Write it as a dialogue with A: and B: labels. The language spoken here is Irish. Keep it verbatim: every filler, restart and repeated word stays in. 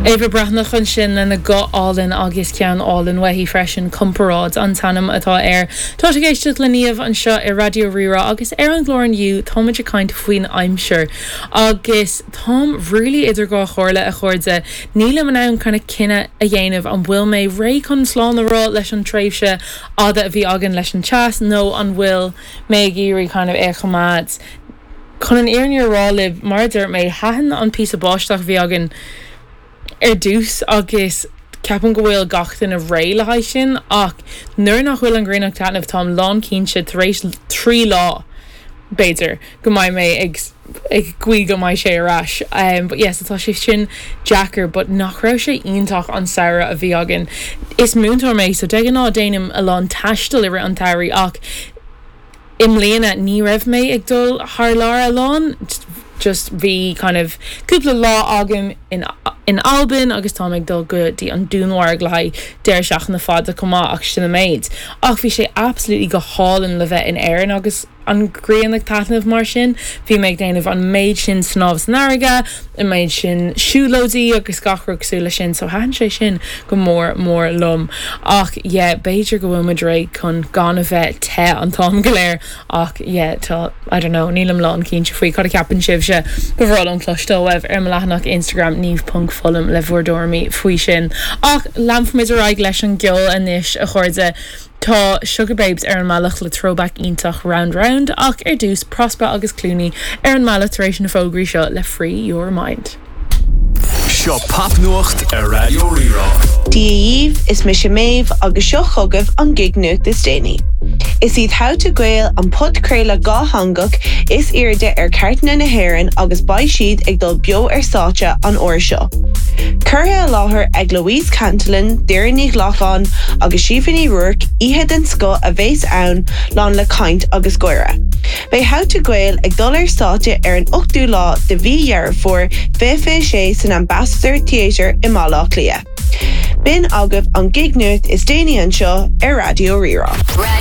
A: Éabha Breathnach ansin lena guth álainn agus ceann álainn uaithi freisin comparáid an t-ainm atá air. Tá ag éisteacht le Niamh anseo ar Raidió Rí-Rá agus ar an gclár inniu táimid ag caint faoin aimsir. Agus táim really idir dhá chomhairle a chairde nílim in ann kind of cinneadh a dhéanamh an bhfuil mé réidh chun slán a rá leis an tréimhse fhada a bhí againn leis an teas nó an bhfuil mé ag iarraidh kind of é a choimeád. Chun an fhírinne a rá libh mar dúirt mé thaitin an píosa báisteach a bhí againn ar dtús agus ceapaim go bhfuil gach duine réidh le haghaidh sin ach nuair nach bhfuil an ghrian ag taitneamh táim lán cinnte tar éis trí lá b'fhéidir go mbeidh mé ag ag guí go mbeidh sé ar ais. Um, but yes, tá sé sin deacair, but nach raibh sé iontach an samhradh a bhí againn. Is múinteoir mé so de ghnáth déanaim a lán taistil i rith an tsamhraidh ach i mbliana ní raibh mé ag dul thar lear a lán just bhí kind of cúpla lá agam in in Albain agus tá ag dul go dtí an Dúnmharc le haghaidh deireadh seachtaine fada chomh maith ach sin an méid. Ach bhí sé absolutely go hálainn le bheith in Éirinn agus an ghrian ag taitneamh mar sin, bhí mé ag déanamh an méid sin snámh san fharraige, an méid sin siúlóidí agus gach rud cosúil leis sin, so thaitin sé sin go mór mór liom. Ach yeah, b'fhéidir go bhfuil muid réidh chun gan a bheith te an t-am go léir ach yeah, tá I don't know, nílim lán cinnte faoi cad a cheapann sibhse ba bhreá liom cloisteáil uaibh ar mo leathanach Instagram niamh.foghlaim le bhur dtuairimí faoi sin. Ach leanfaimid ar aghaidh leis an gceol anois a chairde. Tá Sugababes ar an mbealach le throwback iontach round round ach ar dtús Prospa agus Clooney ar an mbealach tar éis na fógraí seo le Free Your Mind.
B: Seo popnuacht ar Raidió Rí-Rá.
C: Dia dhaoibh is mise Méabh agus seo chugaibh an gig nuacht is déanaí. Is iad How to Gael an podchraoladh dátheangach is airde ar chairteanna na hÉireann agus beidh siad ag dul beo ar stáitse an uair seo. Curtha i láthair ag Louise Cantillon, Doireann Ní Ghlacáin agus Síomha Ní Ruairc oíche den scoth a bheas ann lán le caint agus gáire. Beidh How to Gael ag dul ar stáitse ar an ochtú lá de mhí Dheireadh Fómhair fiche fiche sé san Ambassador Theatre i mBaile Átha Cliath. B'in agaibh an gig nuacht is déanaí anseo ar Raidió Rí-Rá.